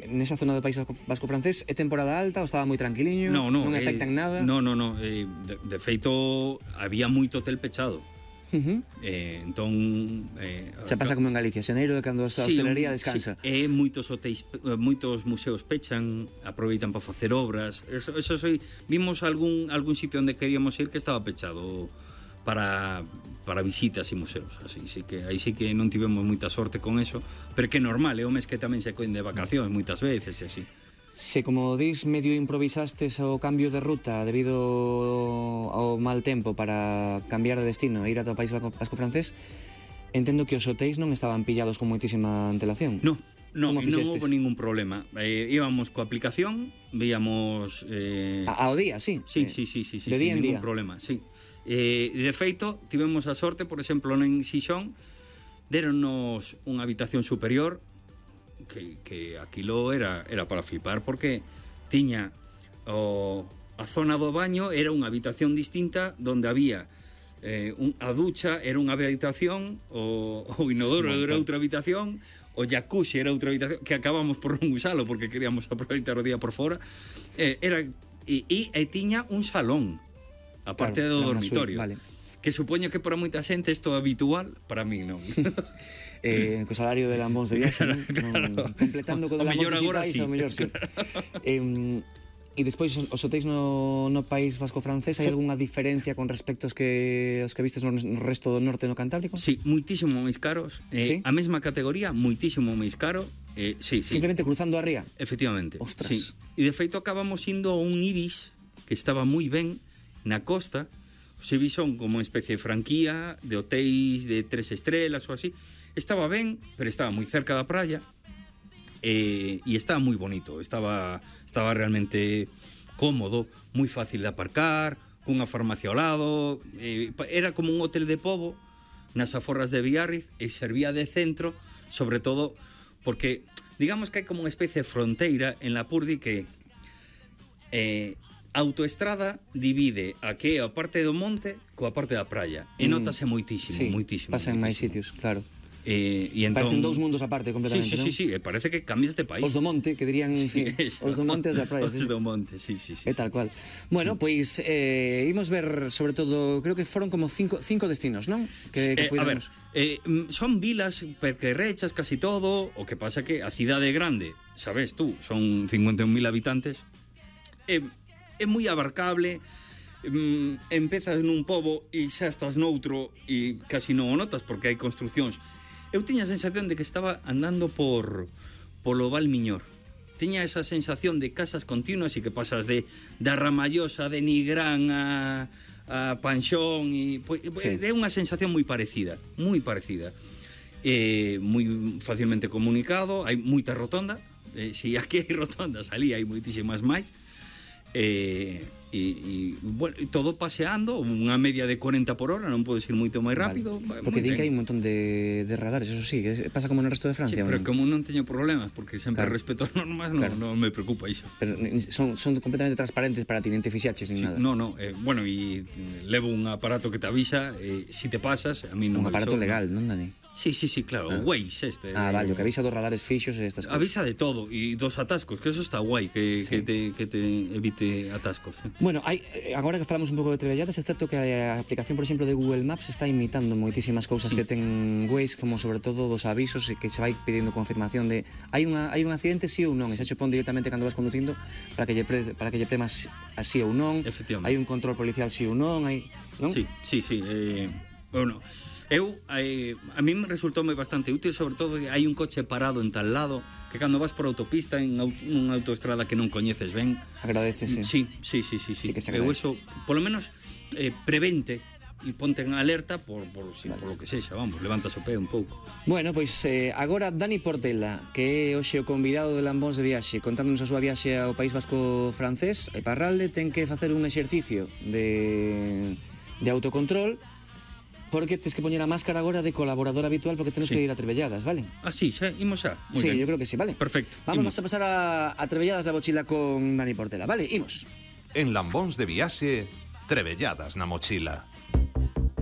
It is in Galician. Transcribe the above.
nesa zona do País Vasco francés, é temporada alta ou estaba moi tranquiliño? Non afecta en nada? Non, de feito, había moito hotel pechado. Entón xa pasa como en Galicia, xaneiro é cando a hostelería descansa. Sí, moitos hotéis, moitos museos pechan, aproveitan para facer obras. Vimos algún sitio onde queríamos ir que estaba pechado para visitas e museos, así que aí sí que non tivemos moita sorte con eso, pero que é normal, é o mes que tamén se coen de vacacións moitas veces e así. Se, como dis, medio improvisastes o cambio de ruta debido ao mal tempo para cambiar de destino e ir ata o País Vasco francés, entendo que os hotéis non estaban pillados con moitísima antelación. Non houve ningún problema. Íbamos coa aplicación, víamos... Ao día, sí? Sí, de día en ningún día. problema, sí. De feito, tivemos a sorte, por exemplo, en Xixón, deronnos unha habitación superior que aquilo era para flipar, porque tiña a zona do baño, era unha habitación distinta onde había a ducha, era unha habitación, o inodoro era outra habitación, o jacuzzi era outra habitación, que acabamos por non usalo porque queríamos aproveitar o día por fora. E tiña un salón aparte do dormitorio, vale. Que supoño que para moita xente isto é habitual, para mí non. Co salario de Lambóns de viaxe, claro. Completando co de Lambóns digitais, ao mellor sí. E despois os hotéis no País Vasco francés, hai algunha diferencia con respecto aos que vistes no resto do norte no Cantábrico? Sí, moitísimo máis caros. ¿Sí? A mesma categoría, moitísimo máis caro. Sí. Simplemente cruzando a ría? Efectivamente. Ostras. Sí. E de feito acabamos indo a un Ibis que estaba moi ben na costa. Os Ibis son como unha especie de franquía de hotéis de 3 estrelas ou así. Estaba ben, pero estaba moi cerca da praia. E estaba moi bonito, estaba realmente cómodo, moi fácil de aparcar, cunha farmacia ao lado, era como un hotel de pobo nas aforras de Biarritz e servía de centro, sobre todo porque digamos que hai como unha especie de fronteira en Lapurdi que a autoestrada divide a que é a parte do monte coa parte da praia e notase moitísimo, sí, moitísimo. Pasa en máis sitios, claro. E entón, parecen dous mundos aparte completamente, non? Sí, parece que cambias de país. Os do monte, que dirían, sí, os do monte da praia. Os do monte, sí. É tal cual. Bueno, pois imos ver, sobre todo, creo que foron como cinco destinos, non? Que a ver, son vilas perquerrechas casi todo, o que pasa que a cidade grande, sabes tú, son 51.000 habitantes, é moi abarcable. Empezas nun pobo e xa estás noutro e casi non o notas porque hai construcións. Eu tiña a sensación de que estaba andando polo Val Miñor. Tiña esa sensación de casas continuas e que pasas da Ramallosa, de Nigrán a Panxón e sí. É unha sensación moi parecida, moi facilmente comunicado, hai moita rotonda, si aquí hai rotondas, ali hai moitísimas máis. Bueno, todo paseando unha media de 40 por hora, non podes ir moito máis rápido, vale. Porque din que hai un montón de radares, eso sí, que pasa como no resto de Francia. Sí, pero como non teño problemas porque sempre respeto as normas, non me preocupa iso. Pero son completamente transparentes para ti, non te fixaches ni nada. No, bueno, e levo un aparato que te avisa si te pasas, a mí non. Un aparato legal, non, Dani? Sí, claro, o Waze este. Vale, o que avisa dos radares fixos e estas cosas. Avisa de todo, e dos atascos, que eso está guai, que te evite atascos. Bueno, agora que falamos un pouco de trebelladas, é certo que a aplicación, por exemplo, de Google Maps está imitando moitísimas cousas que ten Waze, como sobre todo dos avisos e que se vai pedindo confirmación de hai un accidente sí ou non, e xa che pon directamente cando vas conducindo para que lle premas así ou non. Hai un control policial sí ou non, non? Sí. Bueno, a mí me resultoume bastante útil, sobre todo que hai un coche parado en tal lado que cando vas por autopista en unha autoestrada que non coñeces ben, agradecese. Sí. Que se agradece. Eso, polo menos, prevente e ponte en alerta por lo que sexa, vamos, levantas o pé un pouco. Bueno, pois agora Dani Portela, que é hoxe o convidado de Lambóns de Viaxe, contándonos a súa viaxe ao País Vasco francés, e Parralde ten que facer un exercicio de autocontrol, porque tens que poñer a máscara agora de colaborador habitual porque temos que ir a Trebelladas, vale? Sí, xa, imos xa. Sí, yo creo que sí, vale. Perfecto. Vamos a pasar a Trebelladas na mochila con Dani Portela, vale? Imos. En Lambóns de Viaxe, Trebelladas na mochila.